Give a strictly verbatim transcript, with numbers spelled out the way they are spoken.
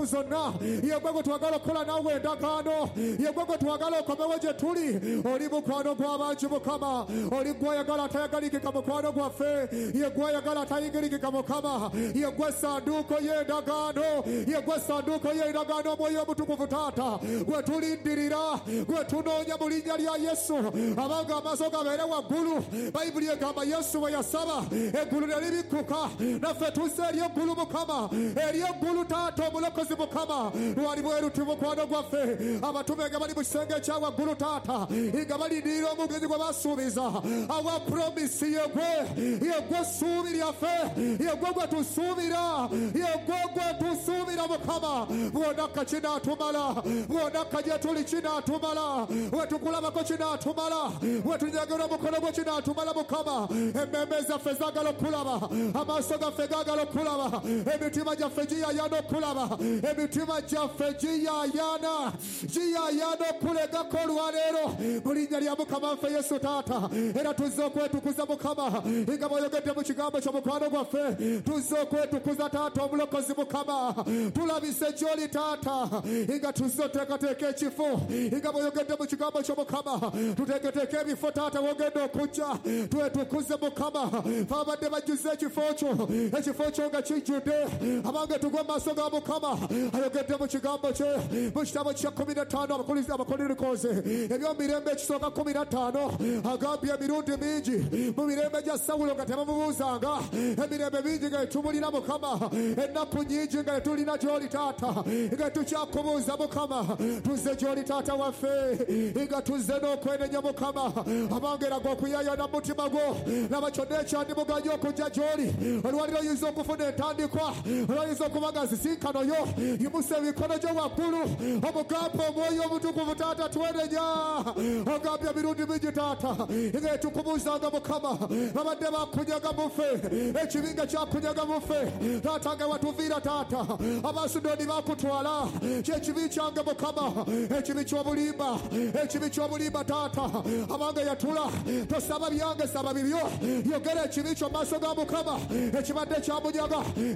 Ennaku zonna yegwe gwe twagala okukola naawe endagaano, yegwe gwe twagala okomewo gye tuli. Oli mukwano gw'abangi Mukama, oli gw'oyagala atayagalikika mukwano gwaffe, ye gw'oyagala atayigirikika Mukama, ye gwe ssanduuko y'endagaano, ye gwe ssanduuko y'endagaano. Omwoyo Omutukuvu taata gwe tulindirira, gwe tunoonya mu linnya lya Yesu. Abanga amaaso gabeere waggulu. Bayibuli egamba Yesu bwe yasaba eggulu ne libikkuka, naffe tuzze eri eggulu Mukama, eri eggulu taata omulokozi Mukama. Lwali bweruti mukwano gwaffe, abatume nga bali mu kisenge ekya waggulu taata, nga balindirira omugenyi gwe basuubiza. Awa promise yegwe, yegwe ssuubi lyaffe, yegwe gwe tusuubira, yegwe gwe tusuubira Mukama. Bw'onakka kinaatumala, bw'onakka gye tuli kinaatumala, bwe tukulabako kinaatumala, bwe tunyagera omukono gwe kinaatumala Mukama. Emmeeme zaffe zaagala okulaba, amaaso gaffe gaagala okulaba, emitima gyaffe giyaayaana okulaba, emitima gyaffe giyaayaana giyaayaana okulegako olwaleero mu linnya lya Mukama waffe Yesu taata. Era tuzze okwetukuza Mukama, nga bw'oyogedde mu kigambo kyo mukwano gwaffe, tuzze okwetukuza taata omulokozi Mukama. Tulabise gy'oli taata, nga tuzze oteekateeka ekifo, nga bw'oyogedde mu kigambo kyo Mukama, tuteeketeeke ebifo taata w'ogenda okujja, twetukuze Mukama. Fe abadde bajjuze ekifo kyo, ekifo kyo nga kijjudde, abange tugwe mu maaso ga Mukama. Ayogedde mu kigambo kye mu kitabo kya kkumi na ttaano Abakolinkoze eby'omumirembe ekisooka kkumi na ttaano, agambye emirundi mingi mu mirembe gya Sawulo nga tebamubuuzanga, emirembe mingi nga etumulira Mukama, ennaku nnyingi nga tetulina gy'oli taata, nga tukyakubuuza Mukama. Tuzze gy'oli taata waffe, nga tuzze n'okwenenya Mukama. Abange eraga okuyaayana mu mutima gwo, laba kyonna ekyandimuganye okujja gy'oli. Olwaliro oyinza okufuna entandikwa, olwayinza okuba nga nsisinkano yo. Yimusa emikono gyo waggulu, omugambe Omwoyo Omutukuvu taata twenenya. Ogambye emirundi mingi taata nga etukubuuzanga Mukama, babadde bakunyaga muffe, ekibi nga kyakunyaga muffe taata, nga watuviira taata, Abasudoni bakutwala. Kyekibi kyange Mukama, ekibi ky'obulimba, ekibi ky'obulimba taata. Abange yatula, tosaba byange, saba bibyo. Yogera ekibi kyo mu maaso ga Mukama ekibadde kyamunyaga.